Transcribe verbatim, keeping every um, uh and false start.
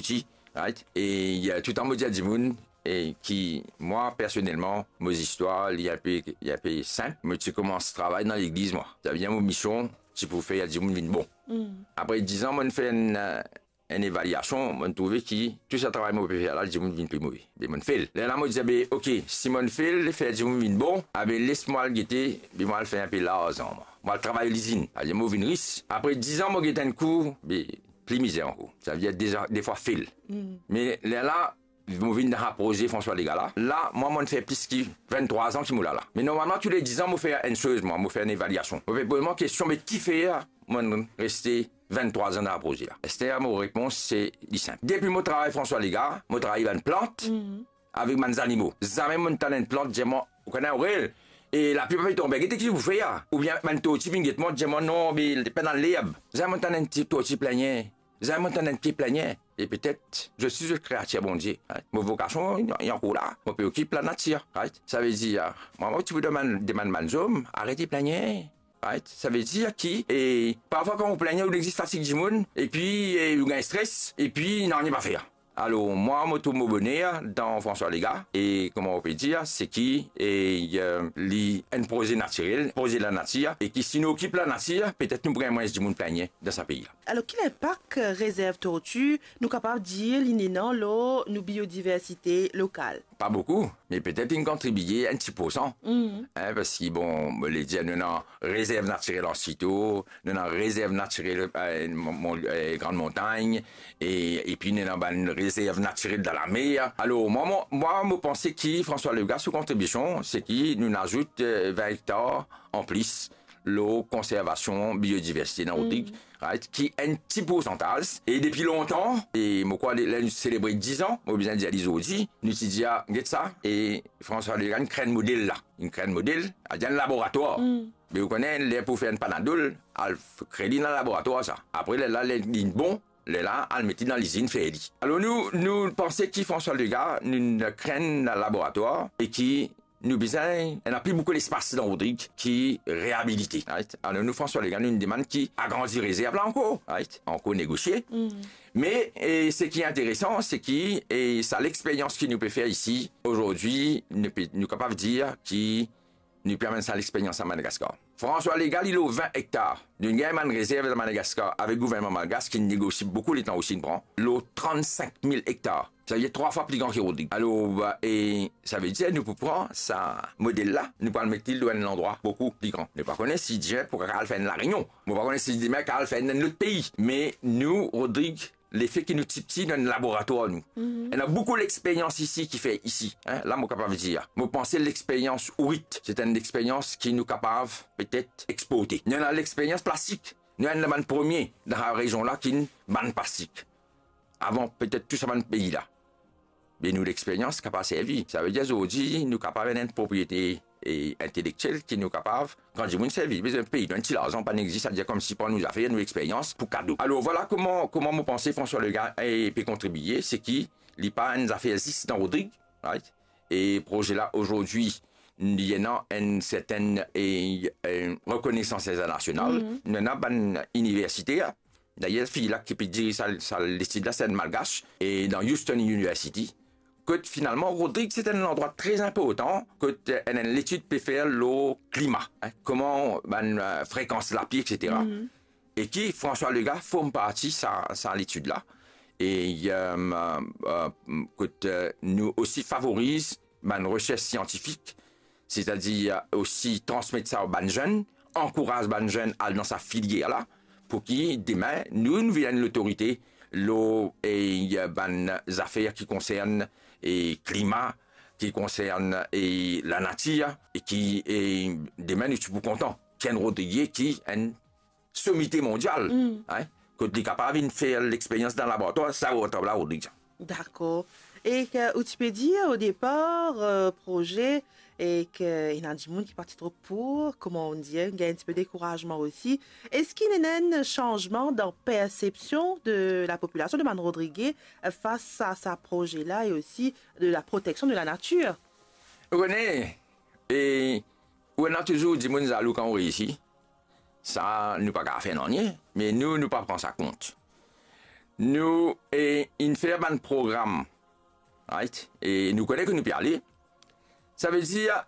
pti, right? E, eh, toutan mo dir dimoun, e ki mwa, personelman, mo zistwar, li inpe, li inpe sinp. Mo ti koumans travay dan legliz, mwa. Savedir mo mision, ti pou fer dimoun vinn bon. Apre diz an, mo'nn fer enn, eh, enn evaliasion, mo'nn trouve ki tou sa travay mo pe fer la, dimoun vinn pli move. Be mo'nn fel. Lerla mo dir, be, ok, si mo'nn fel fer dimoun vinn bon, abe les mwa al gete, be mo al fer inpe larzan, mwa. Mo al travay lizinn. Savedir mo vinn ris. Apre diz an, mo get enn kou, be pli mizer ankor. Savedir deza, defwa fel. Me lerla, mo vinn dan sa proze François Legaard la. La, mwa, mo'nn fer plis ki vinn-trwa an ki mo la la. Me normalman, toule diz an, mo fer enn soz, mwa, mo fer enn evaliasion. Mo pe poz mwa kestion, me kifer mo'nn reste vinn-trwa an dan sa proze la? Aster, mo repons, se li sinp. Depi mo travay François Legaard, mo travay bann plant, avek bann zanimo. Zame mo'nn tann enn plant dir mwa, ou kone, Aurel, e lapli pa pe tonbe, gete ki ou fer la. Oubien bann torti vinn get mwa, dir mwa, non, be, pena lerb. Zame mo'nn tann enn ti torti plengne. Zame mo'nn tann enn pie plengne. E petet, zot si zot kreatir Bondie, right? Mo vokasion, li, li ankor la. Mo pe okip lanatir, right? Savedir, mwa, mo ti pou demann, demann bann zom, arete plengne, right? Savedir ki, e, parfwa kan ou plengne, ou exzit fatig dimoun, epi, e, ou gagn stres, epi nanye pa fer. Alor, mwa, mo trouv mo boner dan François Legaard, e kouma ou pe dir, se ki, e, eh, li enn proze natirel, proze lanatir, e ki si nou okip lanatir, petet nou pou gagn mwins dimoun plengne dan sa pei la. Alor, ki linpak, eh, rezerv torti, nou kapav dir li ena lor nou biodiversite lokal? Pa boukou, me petet inn kontribie enn ti poursan. Hein, parski, bon, mo le dir, nou ena rezerv natirel Anse Ito, nou ena rezerv natirel, eh, Mon-, Mon-, eh, Grande Montagne, e, epi nou ena bann rezerv natirel dan lamer. Alor, mwa, mwa, mwa, mo panse ki François Legaard, so kontribision, se ki nou azout, eh, vin ektar anplis lor konservasion biodiversite dan Rodrig, right, ki enn ti poursantaz, e depi lontan, e mo krwar, ler nou selebre diz an, mo bizin dir li zordi, nou ti dir, get sa, e François Legaard inn kre enn model la, inn kre enn model, a dir enn laboratwar. Me ou kone, ler pou fer enn Panadol, al f-, kre li dan laboratwar sa. Apre, lerla, ler li bon, lerla, al met li dan lizinn, fer li. Alor, nou, nou panse ki François Legaard, nou, nou kre enn laboratwar, e ki nou bizin, ena pli boukou lespas dan Rodrig ki reabilite, right? Alor, nou, François Legaard, nou demann ki agrandi rezerv la ankor, right? Ankor negosie. Me, e, seki interesan, se ki, e, sa lexperyans ki nou pe fer isi, azordi, nou pe, nou kapav dir ki nou pe amenn sa lexperyans a Madagaskar. François Legaard, li lor vin ektar. Nou gagn bann rezerv dan Madagaskar avek gouvernman malgas ki negosie boukou letan osi, nou pran lor trannsink mil ektar. Savedir trwa fwa pli gran ki Rodrig. Alor, e, savedir nou pou pran sa model la, nou pou al met li lor enn landrwa boukou pli gran. Nou pa kone si dimin pou kapav al fer enn La Réunion. Mo pa kone si dimin kapav al fer enn lot pei. Me nou, Rodrig, lefe ki nou ti pti, nou enn laboratwar nou. Ena boukou lexperyans isi ki fer isi, hein, la mo kapav dir. Mo panse lexperyans ourit, se enn lexperyans ki nou kapav petet exporte. Nou ena lexperyans plastik. Nou enn bann premie dan sa rezion la ki inn bann plastik. Avan petet tou sa bann pei la. Be nou lexperyans kapav servi. Savedir zordi nou kapav ena enn propriete, e, intelektiel ki nou kapav, kan dimoun servi, bizin pey nou enn ti larzan, pa inn existe, savedir koumsi pran nou zafer, nou lexperyans pou kado. Alor, vwala kouma, kouma mo panse François Legaard, e, pe kontribie, se ki li pa enn zafer zis dan Rodrig, right? E proze la, azordi, li ena enn sertenn, e, e, rekonesans internasional. Nou ena bann iniversite, dayer, fi la ki pe diriz sa, sa letid la, se enn Malgas, e dan Houston University, kot finalman, Rodrig, se enn landrwa tre inportan, kot, e, enn, enn letid pe fer lor klima, hein, kouma bann, e, frekans lapli, et cetera. E ki François Legaard form parti sa, sa letid la. E, e, e, kot, e, nou osi favoriz bann resers siantifik, setadir osi transmet sa ar bann zenn, ankouraz bann zenn al dan sa filier la, pou ki demin nou, nou vinn enn lotorite lor, e, bann zafer ki konsern, e, klima, ki konsern, e, lanatir, e ki, e, demin nou ti pou kontan ki enn Rodrigye ki enn somite mondial, hein, kot li kapav vinn fer lexperyans dan laboratwar, sa laboratwar la, Rodrig sa. Dakor. E ki ou ti pe dir o depar, e, proze, e ki ena dimoun ki pa ti tro pou, kouma on dir, gagn enn tipe dekourazman osi. Eski ena enn sanzman dan persepsion de lapopilasion de bann Rodrigye, e, fas a sa proze la e osi de laproteksion de lanatir? Ou kone, e, ou ena touzour dimoun zalou kan ou reisi. Sa, nou pa kapav fer nanye, me nou, nou pa pran sa kont. nou, e, inn fer bann program, right? E nou kone ki nou pe ale. Savedir,